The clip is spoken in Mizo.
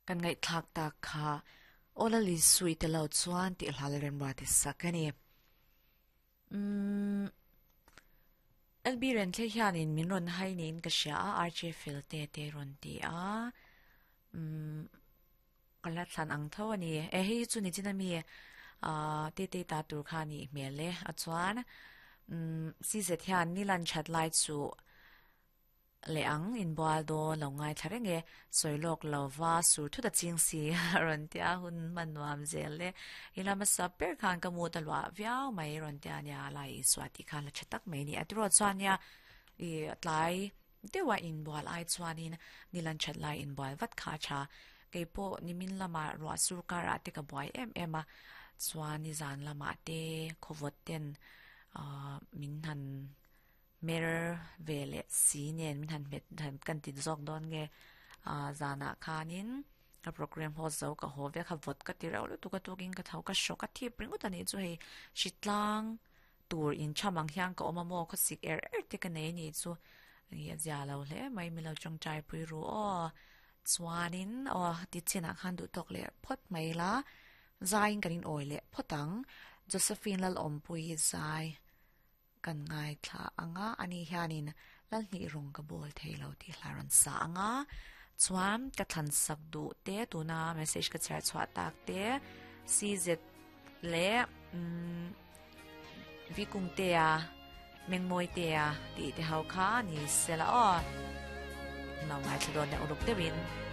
Kan ngaihthlak tak kha Aw Lali Sui te lo chuan tih hla leh remruati sak a ni. Umm LB Renthlei hianin min rawn hai niin ka hria a, RJ fel te te rawn ti a. Umm ka la thlan ang tho a ni. E hei hi chu ni chin ami ah te te ta tur kha a nih hmel e. A chuan umm CZ hian nilan that lai chu Leh ang, inbual dawn lo ngaithla reng e, sawi lawk lo va sur thut a ching si a rawn ti a, hun hman nuam zel e. I la hmasa ber khan ka mut a luah viau mai rawn ti a nia, lai Isua tih khan la tha tak mai a ni. A tiraw chuan nia i tlai deuha inbual ai chuanin nilan that lai inbual vat kha a tha. Keipawh nimin lamah ruah sur karah te ka buai em em a, chuan nizan lamah te khawvawt ten ah min han Mer ve leh si nen min han hmet han kan ti zawk dawn nge ah zanah khanin ka program host zo ka haw vek a vawt ka ti reuh lutuk a tukin ka tho ka hrawk a thip ringawt a nih chu hei hritlang tur incham ang hian ka awm a maw khawsik er er te ka nei a nih chu ih a zia lo hle mai milo tawngtai pui ru aw chuanin aw ti chinah khan duh tawk leh phawt mai ila zaiin kan in awi leh phawt ang Josephine Lalawmpuii zai. Kan ngaithla ang a, ani hianin Lalhnih rawng ka bawl thei lo tih hla rawn sa ang a, chuan ka thlan sak duh te tuna message ka chhiar chhuah tak te CZ leh umm Vikungtea Mengmawitea tih te ho kha ni se la aw. Lo ngaithla dawn leh uluk deuhin.